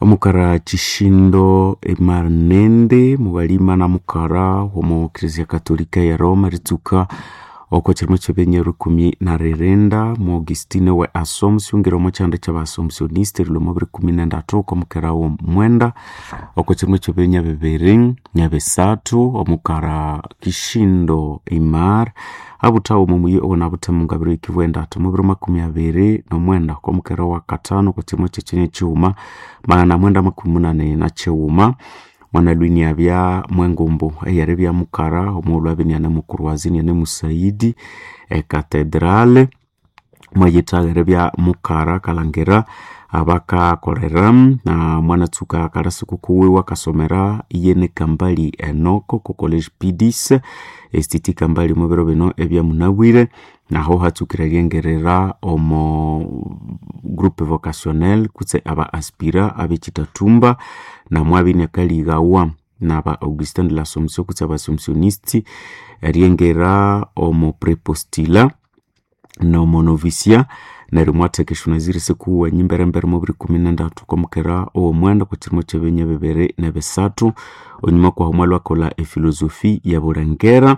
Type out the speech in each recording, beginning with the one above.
Omukara Chishindo Emarnende mughalima na mukara omo Ecclesia Katolika ya Roma eritsuka oko kyirimo kyebenya 13 mu Augustine we Assumption ngira omo kyanda kyaba Assumptioniste erilwa omo 2013 oko mukera w'omwenda oko kyirimo kyebenya 2023 omukara Kishindo Imar abuthawa omo muyi owonabuthemu ngabiro ikivu endathu mu 2029 oko mukera wa katano oko kyirimo kyekyenya kyighuma 984 mwana lwini abya mwengumbu eyeribya mukara omughulhu abya iniane mukurwazi iniane musaidi ecathedrale mwayithaga eribya mukara akalhangira abakakolera na mwanatsuka akalasi kukuwiwe akasomera iyene Kambali Enoko ku college Pidis Institut Kambali omu biro bino ebyamunabwire naho hatsukire eryengerera omo groupe vocationnel kutse aba aspira ab'ekitathumba namwabya iniakalighawa naba Augustin de l'Assomption kutse aba Assumptioniste eryengera omo prepostila nomo novisia neryo mwatheka esyonaziri sikuwenyi emberembere mu 2013 okwamukera ow'omwenda okwa kyirimo ky'ebinya 2023 onyuma kwahu mwalwakolha efilosofi ya Bulengera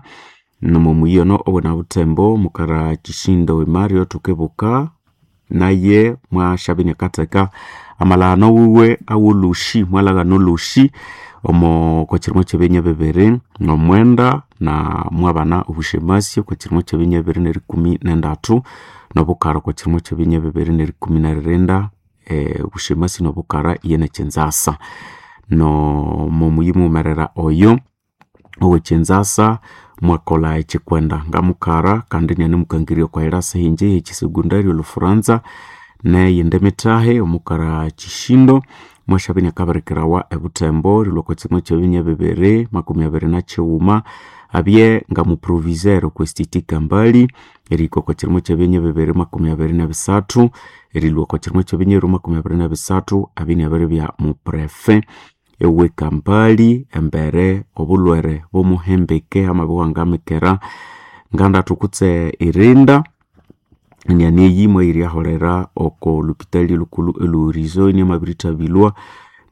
nomo muyi ono owonabuthembo mukara Kishindo Emario thukibuka naye mwasyabya iniakatheka amalaghano wiwe awolhusi mwalaghana olhusi omo okwa kyirimo ky'ebinya 2009 na mwabana obushemasi okwa kyirimo ky'ebinya 2013 nobukara okwa kyirimo ky'ebinya 2019 obushemasi nobukara iyene Kyinzasa nomo muyi mughumerera oyo ow'ekyinzasa mwakolha ekyikwenda ngamukara kandi iniane mukangirya okwa irasa hinje ey'ekyisekondari olhufuranza neyindi mithahi omukara Kishindo mwasyabya iniakabirikirawa ebuthembo erilhwa okwa kyirimo ky'ebinya 2021 abye ngamuproviseur okwa Institut Kambali erihika okwa kyirimo ky'ebinya 2023 erilhwa okwa kyirimo ky'ebinya 2023 abye iniabiribya muprefe ewe Kampali embere obulhwere bw'omuhembeke amabya wangamikera ngandathu kutse irinda iniane eyi mwayiryaholera oko lupitali lhukulhu elhuhorizo iniamabirithabilwa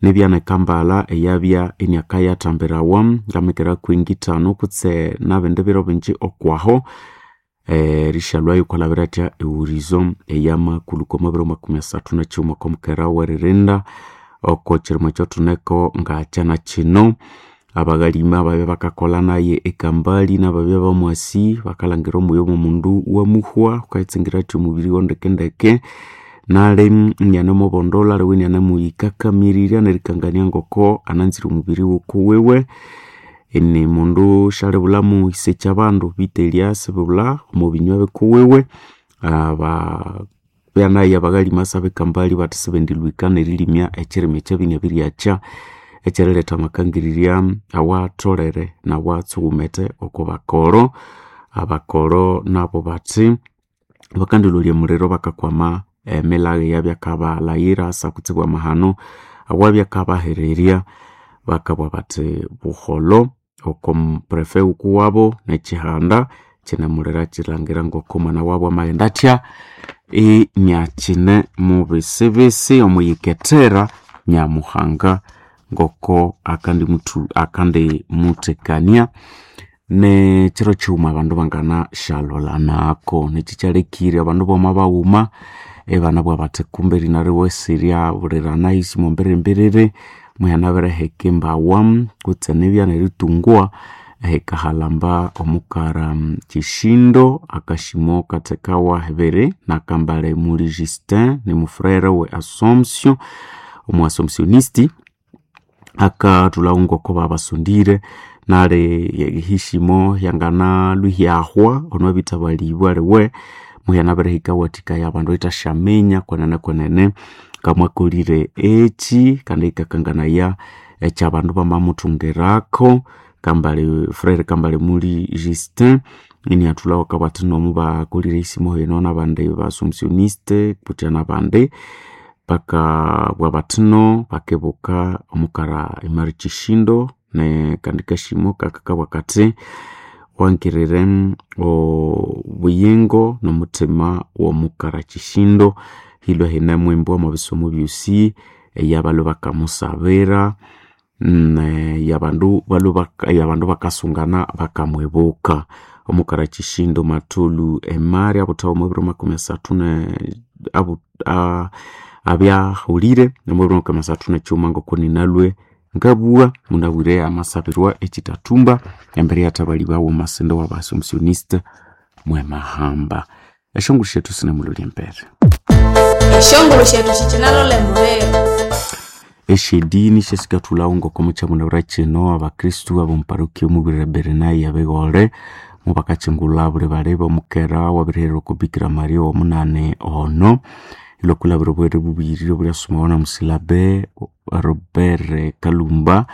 nibyana eKampala eyabya iniakayathambirawa ngamikera kwingi ithanu kutse nabindi biro bingi okwaho erishalwayo okwalhabira athya ehorizo eyamakulhuka omo biro 31 okwamukera w'eririnda oko kyirimo ekyathuneko ngakyana kino abaghalima babya bakakolha naye eKambali nababya bamwasi bakalhangira omwoyo w'omundu wamuhwa ghukayitsingira athya omubiri wondekendeke nali inianemubondolha aliwe inianemuyikakamirirya nerikangania ngoko ananzire omubiri wukuwiwe ini mundu syalibulhamu isekya abandu betu sibulha omo binywa bikuwiwe ababya naye abaghalima ab'eKambali bathi sibendilhwika nerilimya ekyirima ekyabiniabiryakya ekyeriletha amakangirirya awatholere nawatsughumete oko bakoro abakoro nabo bathi bakandilholya omuliro bakakwama emilhago eyabyakabalhaghira asa kutsibu amahano awabya akabahererya bakabugha bathi buholho oko muprefe wukuwabo nekyihanda kyinamulira kyilhangira ngoko omwana wabu amaghenda athya iniakyine mubisibisi omuyikethera Nyamuhanga ngoko akandimuthekania nekyiro kyighuma abandu banganasyalholanako nekyi kyalekire abandu bama baghuma ibanabugha bathi kumbe erinariwese eryabulirana isi mwambirembiriri muyanabiriheka embawa kutse nibya neritungwa ehikahalamba omukara Kishindo akashimo kathekawa hibiri nakambale muli Justin nimufurere we Assumption omu Assumptionisti akathulhawo ngoko babasondire nali hishimo yanganalhwihyahwa ono abithabalibwa aliwe muyanabirihika wathikaya abandu ithashaminya kwenene kwenene ngamwakolire eki kandi yikakanganaya ekyabandu bamamuthungirako Kambale Frere Kambale muli Justin iniathulhawo akabugha athi nomu bakolire esimo eno nabandi ba Assumptioniste kutya nabandi bakabugha bathi no bakibuka omukara Emary Kishindo nekandi kashimo kakakabugha kathi wangirire obuyingo nomuthima w'omukara Kishindo hilwe hine mwimbo omo bisomo byosi. eyabalwe bakamusabira yabandu yabandu bakasungana bakamwibuka. Omukara Chishindo Matulu Emari abuthawa omwabiro 30 abyahulire omwabiro 31 ngoko ninalwe ngabugha munabwire amasabirwa ekitathumba embere yathabali bawu omasende w'Abaassumptioniste mwemahamba. Esyonguru syethu sinemulolya embere. Esyonguru syethu sikinalolha emubiri. Esyedini syasikathulhawo ngoko mukyamunabwira kino abakristu ab'omuparokia omubwirire Bernai abighole mubakakyingulha buli bali b'omukera wabirihererwa oko Bikira Maria owomunani ono ilwakulhabira obwere bubirire obulyasumawa na musilabe Robert Kalumba.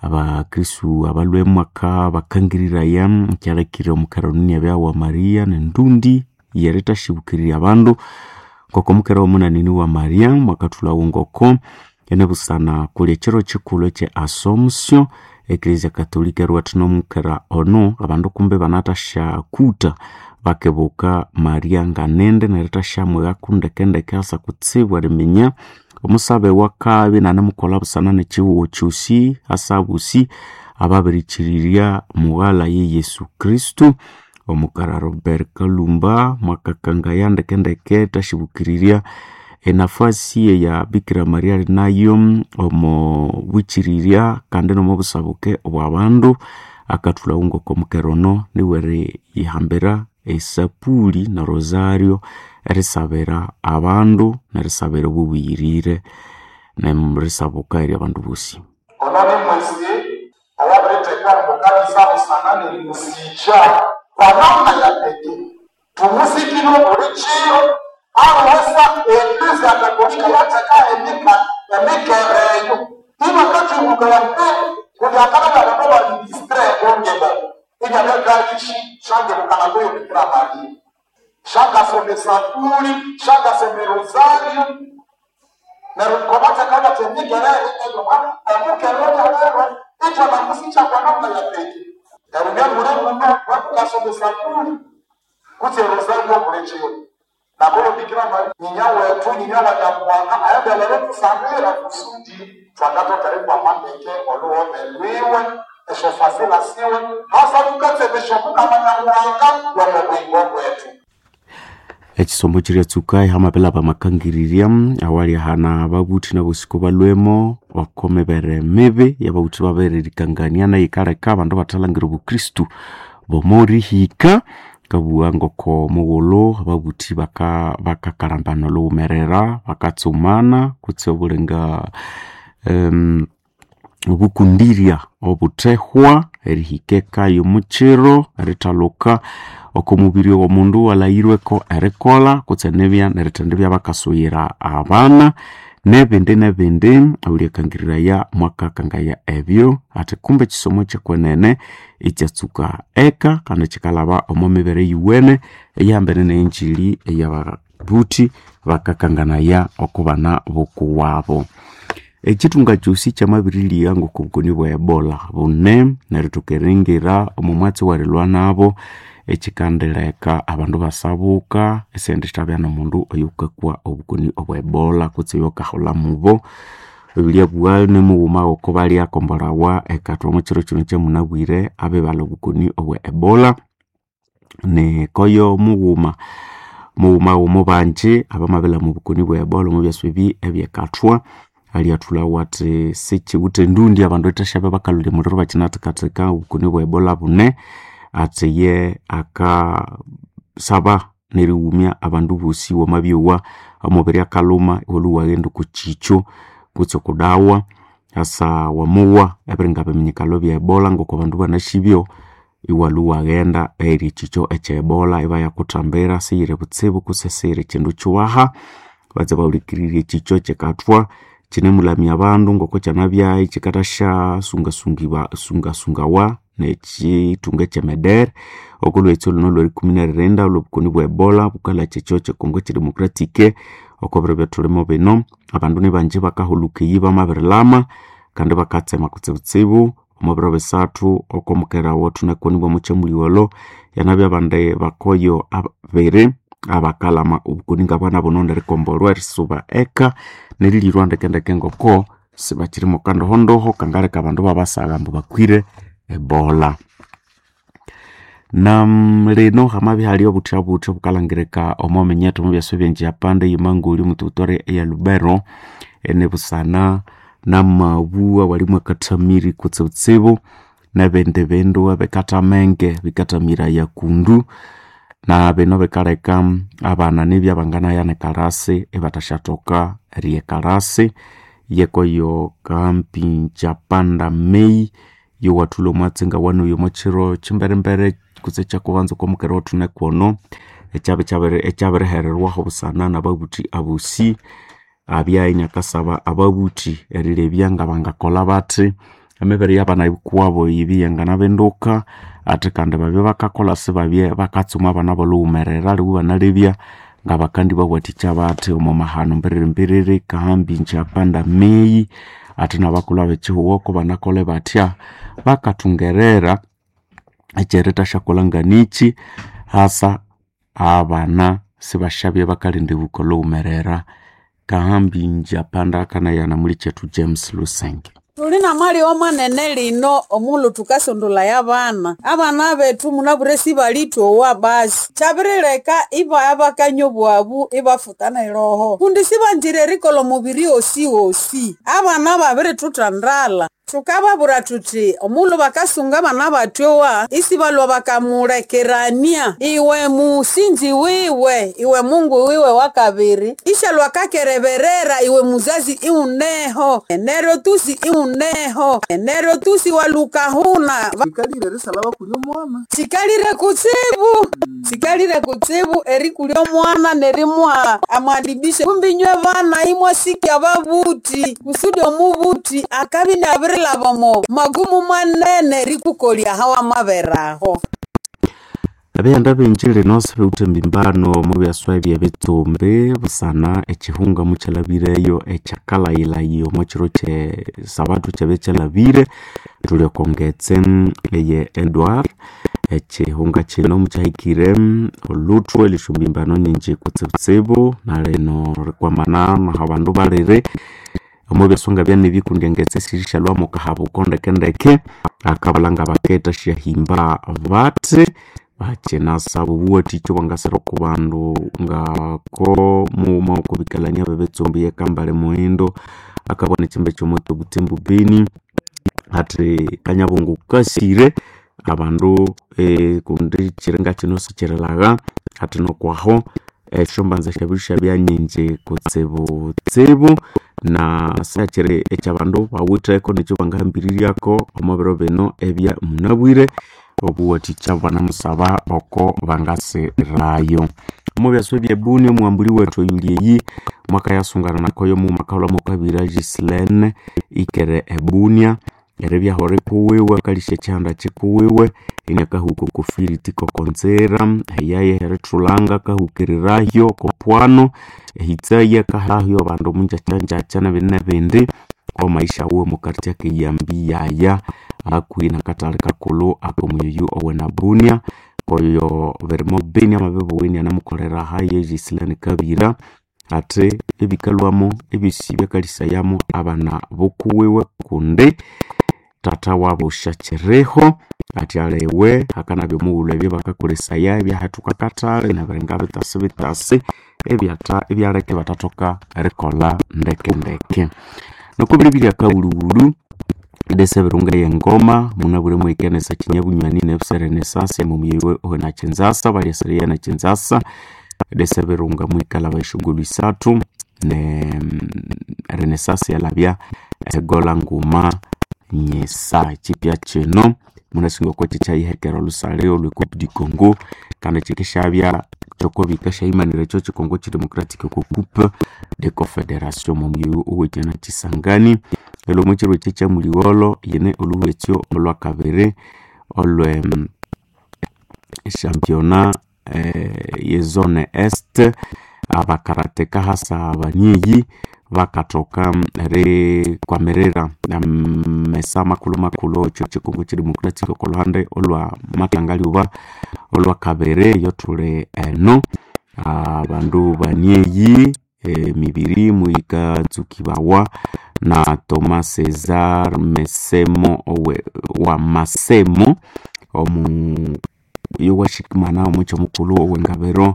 Abakristu abalwe mwaka bakangiriraya kyalekire omukera ono inabya wa Maria nendundi yerithasyibukirirya abandu ngoko omukera womunani ni wa Maria mwakathulhawo ngoko enebusana kuli ekyiro kyikulhu ekye Assumption. Eklezia Katolika eriwathina omukera ono abandu kumbi banathasyakutha bakibuka Maria nganindi nerithasyamwighaku ndekendeke asa kutsibu eriminya omusabe wakabya inanimukolha busana nekyihugho kyosi asa abosi ababirikirirya mughalha ye Yesu Kristo. Omukara Robert Kalumba mwakakangaya ndekendeke thasyibukiririrya enafasi eya Bikira Maria ali nayo omo bwikirirya kandi nomo busabuke obw'abandu. Akathulhawo ngoko omukera ono niwe eriyihambira esapuli na rosario erisabira abandu nerisabira obubuyirire nerisabuka ery'abandu bosi. Ono ni mwesi owabirithekwa omukanisa busana nerimusikya kwa namna ya pekee tumusikire buli kiro aluwesa eklezia Katolika yatheka emikere eyo ibakakyibukaya mbere kundi akalabya abandu baministre bongeba ibyabyabyalishi shangebukana kuyo Bikira Maria shangasoma esapuli shangasoma erosario neryo kobatheka bathi emikere eyo omukere obyalero ithwanamusikya kwa namna ya pekee neryo byamure muno bakukasoma esapuli kutse erosario buli kiro nakuyo Bikira Maria nyinya wethu nyinya wa Nyamuhanga ayabelere tusabira kusudi thwangathoka erikwama ndeke olhughome lwiwe esyofasila siwe hasa thukatsemesya omukama Nyamuhanga w'omubuyingo bwethu. Ekisomo kiryatsuka ihamapelha bamakangirirya awali ahana ababuthi nabosiko balwemo oko mibere mibi yababuthi babiririkangania neyikaleka abandu bathalangira obukristu bomorihika. Kabugha ngoko mughulhu ababuthi bakakalambana olhughumerera bakatsumana kutse obulinga obukundirya obuthehwa erihika eka y'omukyiro erithalhuka oko mubiri owomundu walhaghirweko erikolha kutse nibya nerithendibya bakasuyira abana nebindi nebindi awulyakangiriraya mwakakangaya ebyo ati kumbe ekisomo kyekwenene ikyatsuka eka kandi kyikalhaba omo mibere eyiwene eyihambene neyenjili eyababuthi bakakanganaya oko bana bokuwabo. Ekyithunga kyosi kyamabirilya ngoko obukoni bwa Ebola bune nerithoka eringira omo mwatsi werilwa nabo ekyikandileka abandu basabuka esendithabya nomundu oyukakwa obukoni obwa Ebola kutse oyukaholha mubo. Ebiryabugha nimughuma ngoko balyakombolhawa ekathwa omo kyiro kino kyamunabwire abibalha obukoni obwa Ebola nikoyo mughuma mughuma womubanji abamabilhama obukoni bwa Ebola omo byasi ebi ebyekathwa alyathulhawo athi sikiwithe endundi abandu ithasyabe bakalholya omuliro bakyinathekatheka obukoni bwa Ebola bune athi ye akasaba nerighumya abandu bosi wamabyowa omubiri akalhuma iwalhwa iwaghenda oko kyikyo kutse oko dawa asa wamowa ebiringa biminyikalo bya Ebola ngoko abandu banasyibyo iwalhwa iwaghenda eyiri ekyikyo ekya Ebola ibayakuthambira siyiri butsibu kutse siyiri kyindu kyiwaha batse bahulikirire ekyikyo kyikathwa kyinemulamya abandu ngoko kyanabyayi kyikathasya sungasungawa nekyithunga ekyemedere oko lhwetsi olhuno olwerikumi neririnda olhobukoni bwa Ebola bukalhakya ekyo kyekongo ekyedemocratic oko biro ebyathulimo bino abandu nibanji bakahulhuka eyi bamabirilhama kandi bakatsema kutsibutsibu omo biro bisathu oko mukera wethu nakonibwa omo kyamuligholho yanabya abandi bakoyo abiri abakalama obukoni ngabwana buno nerikombolwa erisuba eka nerilirwa ndekendeke ngoko sibakiri kandohondoho kangaleka abandu babasagha ambu bakwire ebola. Na lino hamabya hali obuthya-buthya obukalhangirika omo minyethu omu byasa ebyenjiyapanda eyemangoli omu territory eya Lubero enibusana namabu awali mwakathamiri kutsibutsibu nebindi bindu ebikathamenge bikathamiraya kundu na bino bikaleka abana nibya banganaya nekalasi ibathasyathoka eriya ekalasi yekoyo kampi njapanda May yowathulha omwatsi ngawanoya omwa kiro kyimberembere kutse ekyakubanza okwamukera owathunekwono ekyabirihererwaho busana nababuthi abosi abya inakasaba ababuthi erilebya ngabangakolha bathi emibere yabana kuwabo yibi yanganabinduka athi kandi babye bakakolha sibabye bakatsuma abana bolhughumerera aliwe ibanalebya ngabakandibawathikya bathi omo mahano mbiriri kahambi njapanda May athi nabakulhu abekyihugho kubanakolhe bathya bakathungerera ekyerithasyakolha nganikyi hasa abana sibasyabya bakalinda ebuka olhughumerera. Kahambi njapanda akanayana mulikyethu James Lusenge. Tuli namali manene lino omulhu thukasondolaya abana. Abana bethu munabwire sibalithowa basi. Kyabirileka ibaya bakanywa obwabu ibafutana eroho. Kundi sibanzire erikolha omubiri wosiwosi. Abana babirithuthandala. Thukababwira thuthi omulhu bakasunga abana batyowa isibalhwa bakamulekerania iwe musinzi wiwe iwe Mungu wiwe wakabiri ishalhwa akakereberera iwe muzazi iwuneho neryo tusi iwuneho neryo tusi walukahuna Bikalire erisalha bakulya omwana. Sikalire kutsibu sikalire kutsibu erikulya omwana nerimuha amwadibisho kumbi inywe bana imwasikya ababuthi kusudi omubuthi akabya iniabirilhaba omo magumu manene erikukolya ahawamaberaho. Abighanda bingi lino sibiwithe embimbano omu byaswa ebyebitsumbi busana ekyihunga mukyalhabireyo ekyakalayilhayi omo kiro kye sabatu kyabya kyalhabire thuli oko ngetse eye Edward ekyihunga kino mukyahikire olhuthwe erisya mbimbano nyingi kutsibutsibu nalino rikwamana nahabandu baliri omo byaswa ngabyanibya kundi engetse sirishalhwamu kahabuko ndekendeke akabalha ngabaketha syahimba bathi bakinasaba obuwathikya obwangasira oko bandu ngako mughuma wokubikalania bebitsumbi yekambale muhindo akabona ekyimba kyomoto Butembo Beni athi kanyabongo kasire abandu kundi kyiringa kino sikyirilagha athi nokwaho esyombanza syabiri syabya nyingi kutsibutsibu na syakyiri ekyabandu bawitheko nekyo bangahambiriryako omo biro bino ebya munabwire obuwathikya banamusaba oko bangasirayo. Omo byaswa ebyebuni omughambuli wethu oyuli eyi mwakayasungana nakoyo mughuma akaghulha mwakabira Ghislaine ikere ebunia eribya hore kuwiwe akalisya ekyihanda kyikuwiwe iniakahuka oko firiti kokonzira eyaye erithulanga akahukirirayo okopwano ehitsayi akahahyo abandu omunjakyanjakya nebindi nebindi omaisha wuwe omukartya keyambiyaya hakuhi nakathali kakulhu akomuyuyu owenabunia koyo birimo beni amabibuwa inianamukolera haye Ghislaine Kabira athi ebikalhwamo ebyosi byakalisayamu abana bokuwiwe kundi tata wabu syakyiriho athi aliwe hakanabya omughulhu ebyo bakakolesaya ebyahethuka akathali nebiringa bitasi bitasi ebyaleka ibathathoka erikolha ndekendeke. Noko biribirya akawulhuwulhu idesa ebirunga eyengoma munabwire muhikanisa kinyabunywani nebusere nesasi emumuyeyo owenakyinzasa balyasereya nakyinzasa idesa ebirunga muhikalhaba esyongolho isathu ne renesasi yalhabya egola nguma nyisa. Ekyipya kino munasinga oko kyikyayihekera olhusalya olwe Coupe du Congo kandi kyikisyabya kyokobika syayimanira ekyo kyikongo kyidemocratic oko Coupe de Confederation omuyoyo owekina kyisangani lero omwa kyiro ekyi kyamuligholho yine olhuhwekyo olhwakabiri olwe championnat ye zone est abakarateka hasa abanyeyi bakathoka erikwamirira amesa makulhu makulhu ekyo kyikongo kyidemocratic oko lhuhande olwa matangaliuba olhwakabiri eyothuli eno. Abandu banieyi emibiri muyikatsukibawa na Thomas Cesar Mesemo owe, wa Masemo omu yowashikimana omukya mukulhu owengabiro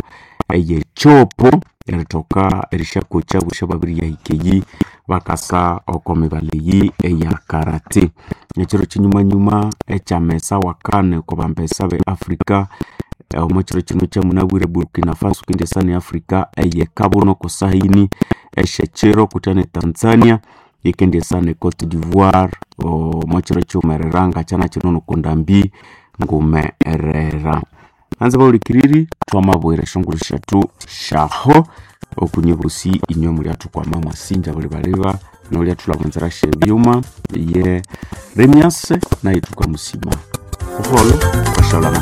eyekyopo erithoka erisyakocha busya babiriyahika eyi bakasa oko mibali eyi eya karate. Ekiro kyinyumanyuma ekyamesa wakane oko bambesa be Africa, omo kiro kino kyamunabwire Burkina Faso kundi esani Africa eyekabuno kusahini esyekiro kutya ne Tanzania yikindi esana Cote d'Ivoire omo kiro kyiwumerera ngakyana kino nokundambi ngumerera. Anze bahulikiriri twamabwira esyongulhu syethu syaho okunye bosi inywe mulyathukwama mwasinja buli baliba nolyathulha mwenzera syebyuma ye Remias naye thukamusima. Buholho washalama.